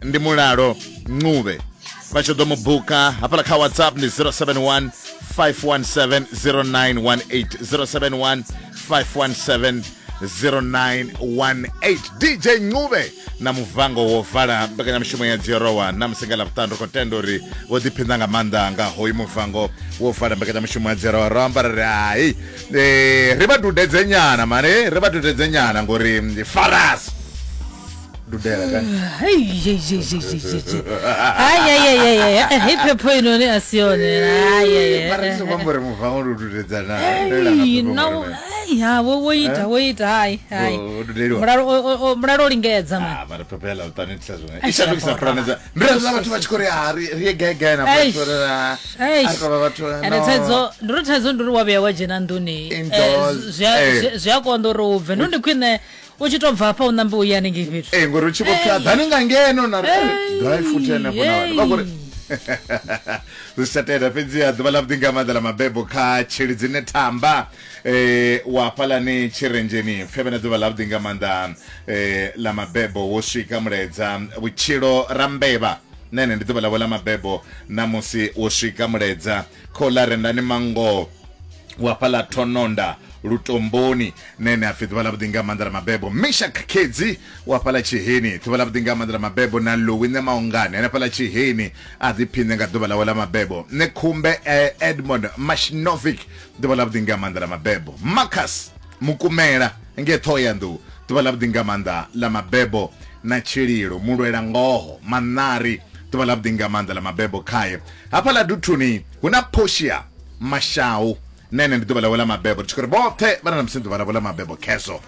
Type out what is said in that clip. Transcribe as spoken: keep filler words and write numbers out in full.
Ndi Mulalo Ncube, vha tshi ḓo mu buka hafhaḽa kha WhatsApp ndi zero seven one five one seven zero nine one eight, zero seven one five one seven zero nine one eight. D J Ncube na muvango wo vala mbekanyamushumo ya Dziorowa na musi nga Ḽavhuṱanu. Ri khou tenda uri vho ḓiphiṋa nga maanḓa nga hoyu muvango wo vala mbekanyamushumo ya Dziorowa. Ro amba ri hai, eh, ri vha dudedze nyana mani, ri vha dudedze nyana ngori ndi faras dudela kani. Hey, hey, hey, hey, hey, hey. Ai, ai, ai, ai, ai. Hei phepho inoni a si yone. Ai, ai, ai. Mara ndi songo amba uri muvango ndi u dudedza na. Ei, no, ai, ha, wo, wo ita, wo ita, hai, hai. Wo dudeliwa. Mulalo, o, o, o, mulalo o lingedza, man. Ah, mara phepho ya Ḽavhuṱanu itisa zwiṅwe. Ai, I shandukisa bora. pulane dza. Ndi ri vhathu vha tshi khou ri, ah, ri, ri ye gai gai na Eish. vhathu ri, ah, Eish. a ri tou vha vhathu, Ende no. thaidzo, ndi uri thaidzo ndi uri wa vhuya wa dzhena nḓuni, eh, Indoors, zwi a, eh. zwi, zwi a konḓa uri u bve. Ndi ndi khwine u tshi tou bva hafha u ṋambe u ye hanengei fhethu. Eh, ngori u tshi vho pfi, ḓani nga ngeno na ri, Hey. gai futhi henefho na vhathu. Vha khou ri, Hey. zwi si tsha tenda. Fhedziha ḓuvha ḽa vhuḓi nga maanḓa ḽa mabebo kha Tshilidzi Nethamba, eh, wa hafhaḽani Tshirenzheni. Pfhe vhe na ḓuvha ḽa vhuḓi nga maanḓa, eh, ḽa mabebo. Wo swika mulaedza vhutshilo Rambevha, nene ndi ḓuvha ḽavho ḽa mabebo namusi. Wo swika mulaedza khola Rendani Mango wa fhaḽa Thononda Lutomboni, nene apfi ḓuvha ḽa vhuḓi nga maanḓa ḽa mabebo. Misha Khedzi wa fhaḽa Tshiheni, ḓuvha ḽa vhuḓi nga maanḓa ḽa mabebo. Na Louis Nemaungane hanefhaḽa Tshiheni, a ḓiphiṋe nga ḓuvha ḽawe ḽa mabebo. Nṋe Khumbe, eh, Edmond Mashinovic, ḓuvha ḽa vhuḓi nga maanḓa ḽa mabebo. Marcus Mukumela nge Ṱhohoyanḓou, ḓuvha ḽa vhuḓi nga maanḓa ḽa mabebo. Na Tshililo Mulwela Ngoho Manari, ḓuvha ḽa vhuḓi nga maanḓa ḽa mabebo khaye. Hafhaḽa Duthuni hu na Portia Mashau, nene ndi ḓuvha ḽawe ḽa mabebo. Ri tshi khou ri vhoṱhe vha na musi ḓuvha ḽavho ḽa mabebo khezo.